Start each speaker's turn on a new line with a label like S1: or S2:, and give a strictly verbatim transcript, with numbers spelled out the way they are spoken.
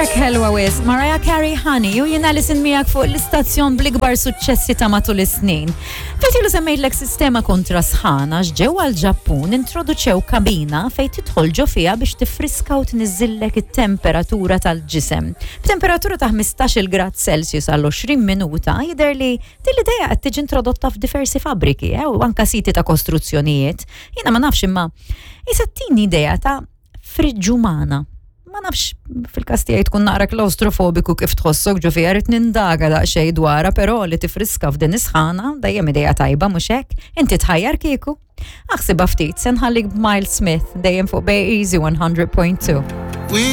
S1: Track ħelwa wisq, Mariah Carey, "Honey", u jiena Alison miegħek fuq l-istazzjon bl-ikbar suċċessi ta' matul is-snin. Ftit ilu semmejtlek sistema kontra sħana ġewwa l-Ġappun. Introduċew kabina fejn tidħol ġo fiha biex tifriska u tniżillek it-temperatura tal-ġisem. B'temperatura ta' ħmistax-il grad Celsius għal għoxrin minuta. Jidher li din l-idea qed tiġi introdotta f'diversi fabbriki eh, u anka siti ta' kostruzzjonijiet. Jiena ma nafx, imma issa ttini idea ta' friġġ umana. Ma nafx, fil-każ tiegħi tkun naqra klaustrofobiku kif tħossok ġo fiha, rrid nindaga daqsxejn dwarha, però li tifriska f'din is-sħana dejjem idea tajba, mhux hekk? Inti tħajjar kieku? Aħsibha ftit, se nħallik b'Miles Smith, dejjem fuq Bay Easy mija punt tnejn.